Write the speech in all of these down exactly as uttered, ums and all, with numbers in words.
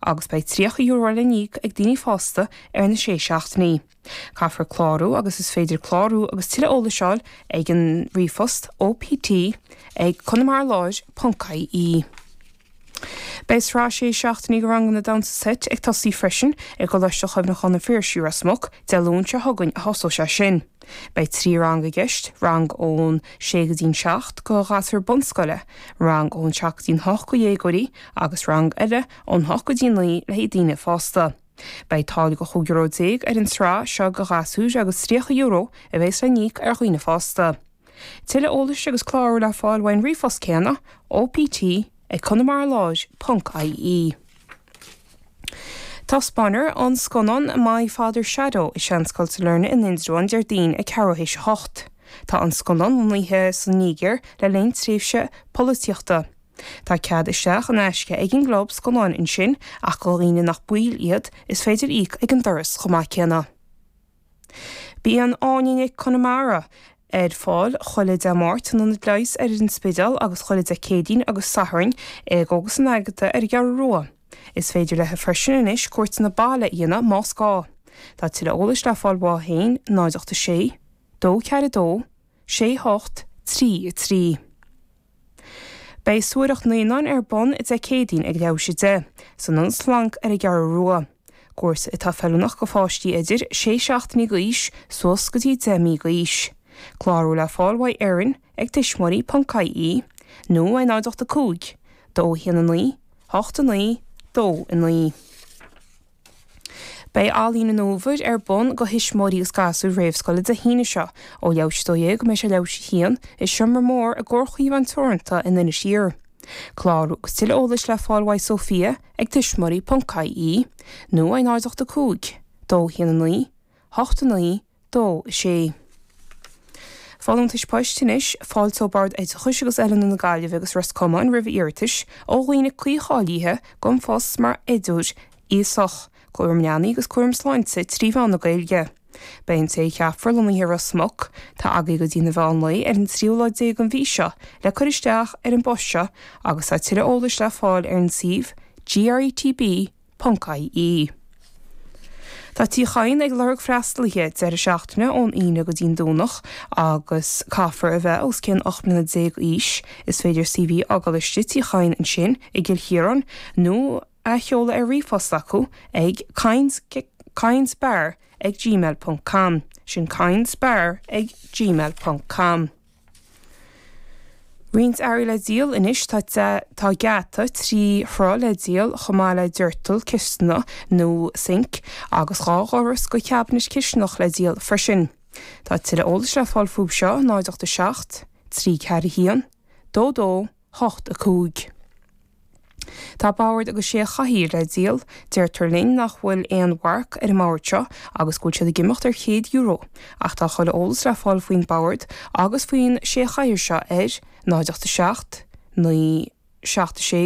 agus beidh tríocha euro le n-íoc ag daoine fásta ar na sé seachtainí. Caithfear clárú agus is féidir clárú agus tuilleadh eolais a fháil ag an ríomhphost OPT ag conamaraláir ponc IE. Beidh sraith sé seachtainí de ranganna damhsa seit ag tosaí freisin i gColáiste Chuimhneacháin an Phiarsaigh Ros Muc, Dé Luain seo chugainn a thosóidh sé sin. Beidh trí rang i gceist, rang ón sé go dtí'n seacht do ghasúir bunscoile, rang ón seacht go dtí'n hocht do dhéagóirí agus rang eile ón hocht go dtí naoi le haghaidh daoine fásta. Beidh táille de chúig euro déag ar an tsraith seo do ghasúir agus tríocha euro a bheas le n-íoc ar dhaoine fásta. Tuilleadh eolais agus clárú le fáil uaidh an ríomhphost céanna, OPT ag conamaraláir ponc IE. Taispeánfar an scannán My Father's Shadow i Seanscoil Sailearna in Indreabhán Déardaoin ag ceathrú théis a hocht. Tá an scannán lonnaithe sa Nigéir le linn tréimhse polaitíochta. Tá cead isteach in aisce ag an gclub scannáin ansin ach do dhaoine nach baill iad is féidir íoc ag an doras chomh maith céanna. Bíonn Áine Nic Conamara ar fáil chuile Dé Máirt in Ionad Leighis ar an Spidéal agus chuile Dé Céadaoin agus Sathairn i gCógaslann Agatha ar an gCeathrú Rua. Is féidir léi freisin anois cuairteanna baile a dhéanamh más gá. Tá tuilleadh eolais le fáil uaithi féin náid ocht a sé, dó ceathair a dó, sé hocht, trí a trí. Beidh suathaireacht naíonáin ar bun Dé Céadaoin ag leathuair théis a deich, san Ionad Splanc ar an gCeathrú Rua. Cúrsa atá feiliúnach do pháistí idir sé seachtainí d'aois suas go dtí deich mí d'aois. Clárú le fáil uaidh Erin ag tuismitheoirí ponc IE nó ar náid ocht a cúig, dó a haon a naoi, hocht a naoi, dó a naoi. Beidh Ealaín an Fhómhair ar bun do thuismitheoirí agus gasúir réamhscoile Dé hAoine seo ó leathuair théis a dó dhéag go mbeidh sé leathuair théis a haon i seomra mór i gComhar Chaomhán Teoranta in Inis Oírr. Clárú agus tuilleadh eolais le fáil uaidh Sophia ag tuismitheoirí ponc IE nó ar náid ocht a cúig, dó a haon a naoi, hocht a naoi, dó a sé. Folúntais poist anois, fáilteoidh Bord Oideachais agus Oiliúna na Gaillimhe agus Ros Comáin roimh iarratais ó dhaoine cuí-cháilithe don phost mar oideoir aosach, cúram leanaí agus cúram sláinte trí mheán na Gaeilge. Beidh an té a cheapfar lonnaithe i Ros Muc, tá agaibh go dtí an mheán lae ar an tríú lá déag den mhí seo le cur isteach ar an bpost seo agus tá tuilleadh eolais le fáil ar an suíomh GRETB ponc IE. Tá Tí Chadhain ag lorg freastalaithe deireadh seachtaine ón Aoine go dtí'n Domhnach agus caithfear a bheith os cionn ocht mbliana déag d'aois. Is féidir CV a fhágáil istigh Tí Chadhain ansin i gCill Chiaráin nó a sheoladh ar ríomhphost acu ag cadhainsbar ag gmail ponc com. Sin cadhainsbar ag gmail ponc com. Roinnt earraí le díol anois tá tá geata trí throigh le díol chomh maith le doirteal cisteanach nó sinc agus dhá dhoras go ceabinet cisteanach le díol freisin. Tá tuilleadh eolais le fáil fúthu seo náid ocht a seacht, trí ceathair a haon, dó dó, hocht a cúig. Tá bord agus sé chathaoir le díol, deirtear linn nach bhfuil aon mharc ar an mbord seo agus go bhfuil siad ag imeacht ar chéad euro, ach tá chuile eolas le fáil faoin bord agus faoin sé chathaoir seo ar náid ocht a seacht, naoi seacht a sé,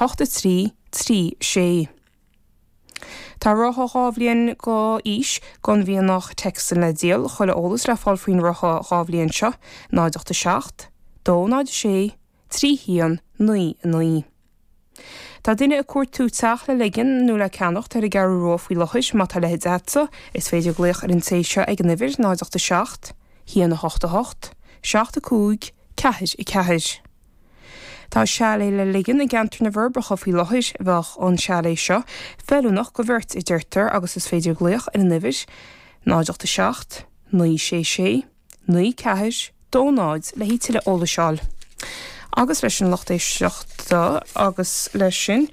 hocht a trí, trí sé. Tá rotha dhá bhliain d'aois den mhianach Texan le díol, chuile eolas le fáil faoin rotha dhá bhliain seo, náid ocht a seacht, dó náid a sé, trí haon, naoi a naoi. Tá duine ag cuartú teach le ligean nó le ceannacht ar an gCeathrú Rua faoi láthair, má tá leithéid agatsa, is féidir glaoch ar an té seo ag an uimhir náid ocht a seacht, haon a hocht a hocht, seacht a cúig, ceathair a ceathair. Tá chalet le ligean i gceantar na bhForbacha faoi láthair, bheadh an chalet seo feiliúnach do bheirt a deirtear agus is féidir glaoch ar an uimhir náid ocht a seacht, naoi sé sé, naoi ceathair, dó náid le haghaidh tuilleadh eolais a fháil. Agus leis an lucht éisteachta agus leis sin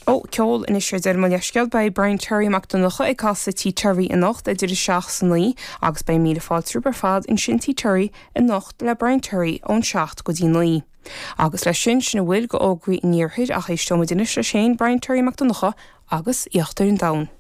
ó ceol anois ar deireadh mo leithscéal beidh Brian Terry Mac Donncha ag casadh Tí Terry anocht idir a seacht is a naoi agus beidh míle fáilte romhaibh ar fad ansin Tí Terry anocht le Brian Terry ón seacht go dtí naoi. Agus leis sin sin a bhfuil d'fhógraí an iarthair ach éisteoimid anois leis féin Brian Terry Mac Donncha agus Íochtar an Domhain.